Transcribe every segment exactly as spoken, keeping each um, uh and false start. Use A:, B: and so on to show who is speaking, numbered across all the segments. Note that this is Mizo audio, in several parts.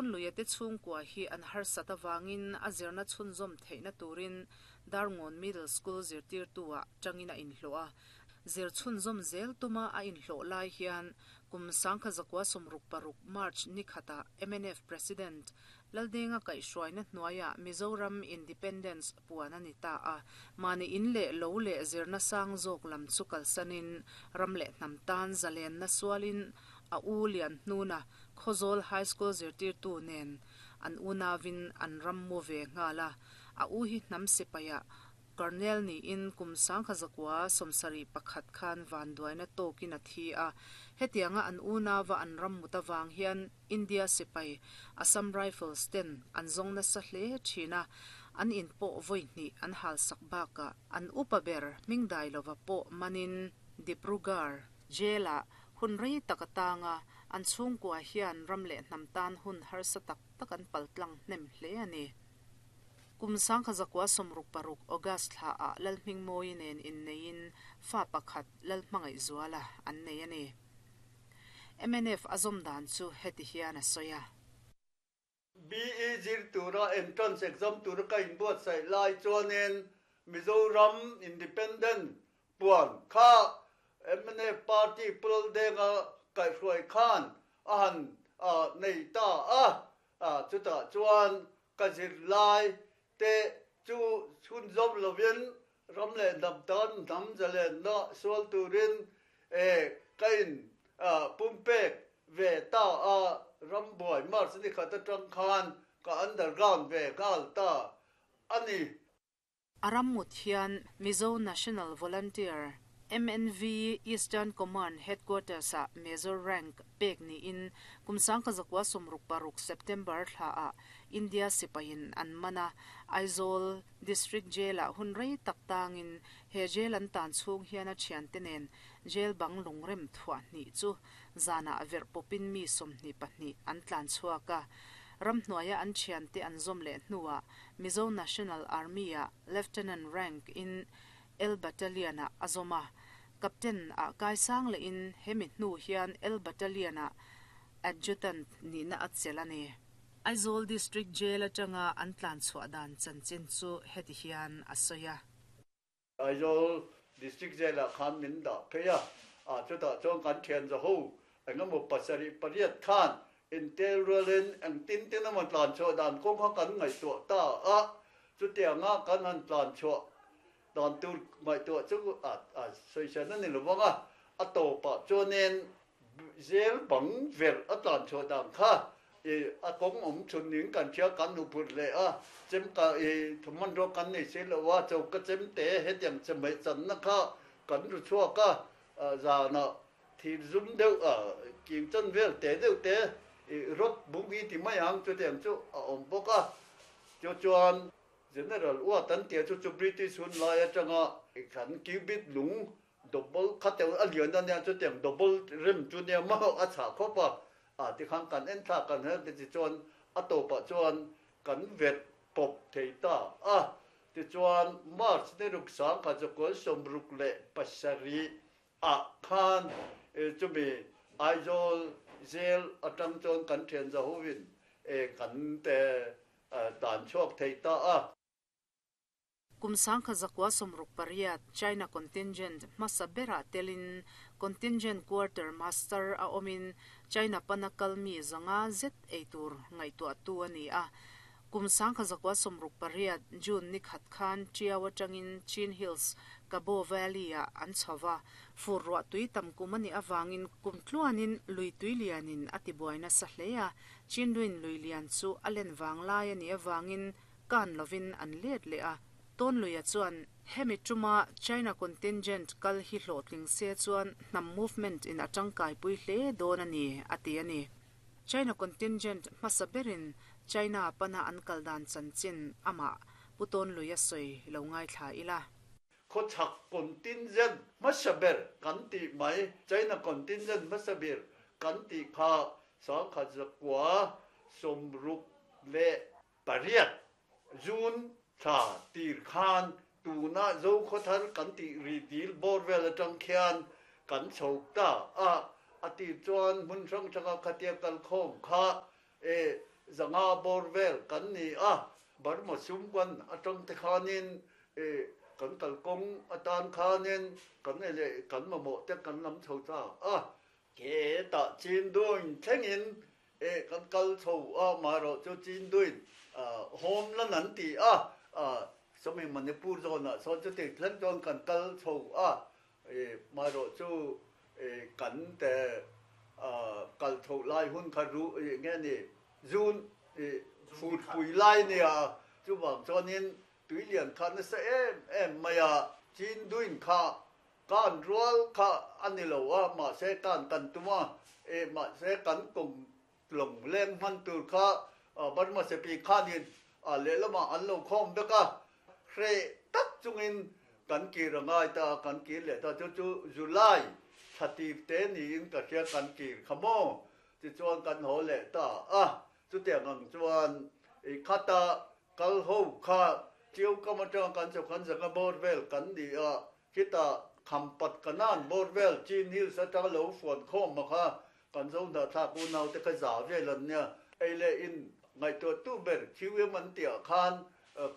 A: Tawnluia te chhungkua hi an harsat awangin a zirna chhunzawm theihna turin Darngawn Middle School zirtirtu-ah tangin a inhlawh a. Zir chhunzawm zel tuma a inhlawh lai hian kum sangkha zakua sawmruk paruk March ni khatah M N F President Laldenga kaihhruaina hnuaiah Mizoram Independence puan a ni ta a. Mahni in leh lo leh zirna sang zawk lam chu kalsanin ram leh hnam tan zalenna sualin a u lian hnuna Khawzawl High School zirtirtu nen an unawin an ram mu ve nghal a. A u hi hnam sipaiah Colonel niin kum sangkha zakua sawmsarih pakhat khan vanduaina tawkin a thi a. Hetianga an unawa an ram mut awang hian India sipai Assam Rifles ten an zawng nasa hle thin a, an in pawh vawi hnih an halsak bakah an upa ber hming dai lova pawh manin Dibrugarh Jail-ah hun rei tak atanga an chhungkua hian ram leh hnam tan hun harsa tak tak an paltlang hnem hle a ni. Kum sangkha zakua sawmruk paruk August thla ah Lalhmingmawi nen inneiin fa pakhat Lalhmangaihzuala an nei a ni. M N F a zawm dan chu heti hian a sawi a.
B: B E zir tura entrance exam tura ka inbuatsaih lai chuanin Mizoram Independent puan kha M N F party Pu Laldenga kaihhruai khan a han nei ta a, chutah chuan ka zir lai te chu chhunzawm lovin ram leh hnam tan hnam zalenna sual turin ka in pumpek ve ta a, rambuai March ni khat atang khan ka underground ve nghal ta a ni.
A: A ram mut hian Mizo National Volunteer M N V Eastern Command Headquarters ah Major rank pek niin kum sangkha zakua sawmruk paruk September thla ah India sipain an man a. Aizawl District Jail ah hun rei tak tangin he jail an tan chhung hian a thiante nen jail bang lungrem thuah hnih chu zanah verh pawpin mi sawmhnih pahnih an tlan chhuak a. Ram hnuaia an thiante an zawm leh hnuah Mizo National Army ah Lieutenant rank in L Battalion ah a zawm a. Captain ah kaisang lehin hemi hnu hian L Battalion ah Adjutant nihna a chelh a ni. Aizawl District Jail atanga an tlan chhuah dan chanchin chu heti hian a sawi a.
B: Aizawl District Jail ah khan min dah phei a, a chutah chuan kan thian zaho engemaw pasarih pariat khan intel rualin engtin tin emaw tlan chhuah dan kawng kha kan ngaihtuah ta a. Chutianga kan han tlan chhuah dan tur ngaihtuah chu a a sawisan a ni lovang a, a tawpah chuanin jail bang verh a tlan chhuah dan kha a kawng awm chhun ning kan hria, kan nu phurh leh a, chem ka thuhmanraw kan nei si lo a, choka chem te hetiang chawhmeh channa kha kan ru chhuak a, zanah thir zum deuh king chan vel te deuh te rod bung i ti mai ang chutiang chu a awm bawk a. Chu chuan General Watt an tia chu chu British hun lai atanga kan cubit lung double kha teuh a lian a nia, chutiang double rem chu nia maw a chhah khawp a, a tikhan kan en thlak kan her te tichuan a tawpah chuan kan verh pawp thei ta a. Tichuan March ni ruk sangkha zakua sawmruk leh pasarih ah khan chumi Aizawl Jail atang chuan kan thian zahovin kan te tlan chhuak thei ta a.
A: Kum sangkha zakua sawmruk pariat China contingent hmasa berah telin contingent quarter master a awmin China pana kalmi zanga zet eitur ngaihtuah tu a ni a. Kum sangkha zakua sawmruk pariat June ni khat khan Tiau atangin Chin Hills Kabaw Valley ah an chhowa. Fur ruah tui tam kum ani awangin kum tluanin lui tui lianin a tibuaina sa hle a. Chindwin lui lian chu a len wang lai ani awangin kan lovin an let le a. Tawnluia chuan hemi tuma China contingent kal hi hlawhtling se chuan hnam movement in atangkai pui hle dawn a ni a ti a ni. China contingent hmasa berin China pana an kal dan chanchin ama Pu Tawnluia sawi lo ngai thla ila.
B: Khawchhak contingent hmasa ber kan tih mai, China contingent hmasa ber kan tih kha sangkhat zakua sawmruk leh pariat June thla tir khan tuna Zokhawthar kan tih ri dil bawr vel atang khian kan chho ta a. A tir chuan hmun hrang hranga khatia kal khawm kha e zanga bawr vel kan ni a Burma sumkwan atang te khanin e kan kalkawng atan khanin kan ele kan mamawh te kan lam chho ta a ke ta Chinduin thlengin e kan kal chho a marawh chu Chinduin home la nan ti a sawmi Manipur zawn ah sawn chuti thleng chuan kan kal chho a e marawh chu e kan te kal chho lai hun kha ru nge ni June e phut pui lai nia chu wang chuanin tuilian kha nasa em em mai a Chinduin kha kan rual kha ani lo a mahse kan kan tuma e mahse kan kum lawng leng hman tur kha Burma sepi khanin a lehlama an lo khawm vek a hre tak chungin kan kir angai ta kan kir leh ta chu chu July thla te niin ka hria kan kir kha maw tichuan kan haw leh ta a chutiang ang chuan i khata kal ho kha chiu kam atanga kan chho khan zanga bawr vel kan ni a khita khampat kanan bawr vel Chin Hills atanga lo fuan khawm a kha kan zo hnah thlak unau te kha za vel an nia ei leh in ngaihtuah tu ber Q M an tih ah khan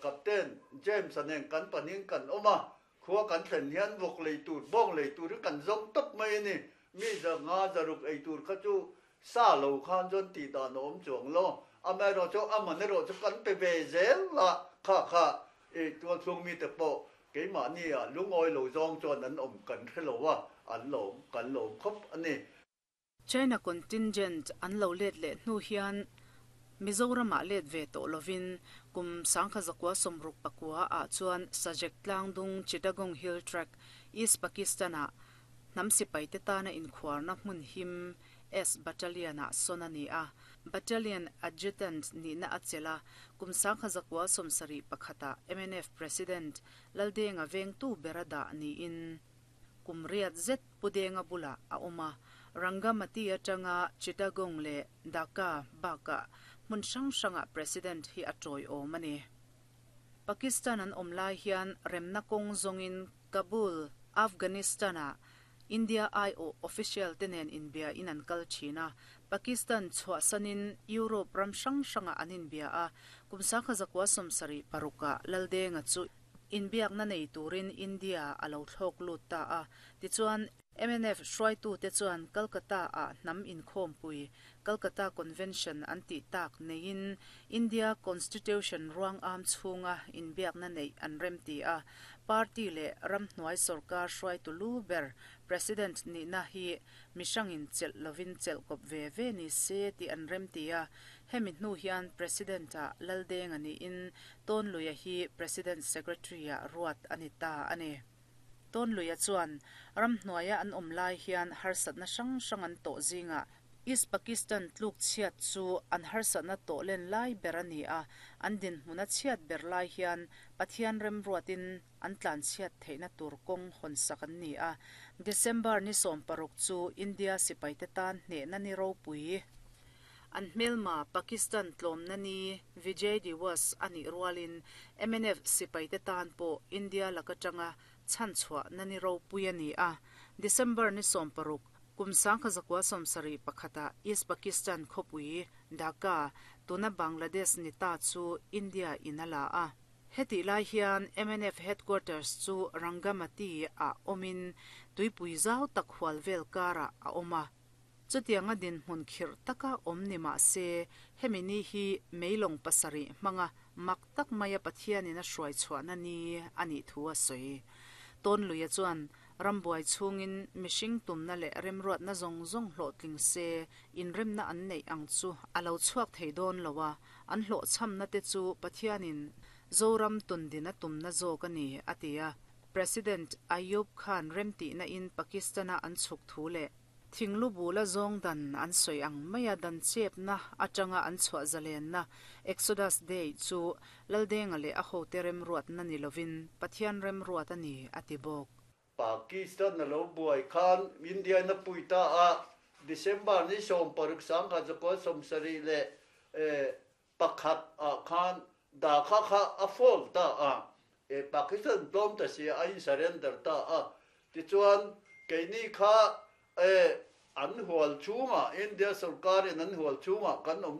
B: Captain James a nen kan pahnih kan awm a khua kan thlen hian vawk lei tur bawng lei tur hi kan zawng tawp mai a ni mi zanga zaruk ei tur kha chu sa lo khan chuan tih dan a awm chuang lo amaherawh chu a man erawh chu kan pe ve zel a kha kha i tualchhung mite pawh keimahni ah lungawi lo zawng chuan an awm kan hre lo a an lawm kan lawm khawp a ni.
A: China contingent an lo let leh hnu hian Mizoramah let ve tawh lovin kum sangkha zakua sawmruk pakua ah chuan Sajek Tlangdung Chittagong Hill Tract East Pakistan ah hnam sipai te tana inkhuarna hmun him S Battalion ah sawn a ni a Battalion Adjutant nihna a chelh a kum sangkha zakua sawmsarih pakhatah M N F President Laldenga vengtu ber a dah niin kum riat zet Pudenga bulah a awm a Rangamati atanga Chittagong leh Dhaka bakah hmun hrang hrangah President hi a tawiawm a ni. Pakistan an awm lai hian remna kawng zawngin Kabul Afghanistan ah India I O official te nen inbia in an kal thin a Pakistan chhuahsanin Europe ram hrang hrangah an inbia a kum sangkha zakua sawmsarih parukah Laldenga chu inbiakna nei turin India a lo thlawk lut ta a tichuan M N F hruaitu te chuan Calcutta ah hnam inkhawmpui Calcutta Convention an tih tak neiin India Constitution ruang am chhunga inbiakna neih an rem ti a party leh ramhnuai sarkar hruaitu lu ber President nihna hi mihrangin chelh lovin chelh kawp ve ve ni se tih an rem ti a hemi hnu hian President ah Laldenga niin Tawnluia hi President Secretary ah ruat a ni ta a ni. Tawnluia chuan ramhnuaia an awm lai hian harsatna hrang hrang an tawh zingah East Pakistan tluk chhiat chu an harsatna tawh len lai ber a ni a an dinhmun a chhiat ber lai hian Pathian remruatin an tlan chhiat theihna tur kawng hawn sak an ni a December ni sawm paruk chu India sipai te tan hnehna ni ropui an hmelma Pakistan tlawmna ni Vijay Diwas a nih rualin M N F sipai te tan pawh India laka tanga chhanchhuah na ni ropui a ni a December ni sawm paruk kum sangkha zakua sawmsarih pakhata East Pakistan khawpui Dhaka tuna Bangladesh ni ta chu India in a la a heti lai hian M N F headquarters chu Rangamati ah awmin tuipui zau tak hual vel karah a awm a chutianga dinhmun khirh taka awm ni mahse hemi ni hi meilawng pasarih hmanga mak tak maia Pathianin a hruai chhuahna ni a nih thu a sawi. Tawnluia chuan rambuai chhungin mihring tumna leh remruatna zawng zawng hlawhtling se inremna an neih ang chu a lo chhuak thei dawn lo a an hlawhchhamna te chu Pathianin Zoram tundin a tumna zawk a ni a ti a President Ayub Khan remtihna in Pakistana an chhuk thu leh thinglu bula zawng dan an sawi ang maia dan chepna atanga an chhuah zalenna Exodus Day chu Laldenga leh a hote remruatna ni lovin Pathian remruat a ni a ti bawk.
B: Pakistan a lo buai khan India na pui ta a December ni sawm paruk sangkha zakua sawmsarih leh pakhat ah khan Dhaka kha a fall ta a e Pakistan tlawm ta si a in surrender ta a tichuan keini kha e an hual chhungah India sarkarin an hual chhungah kan awm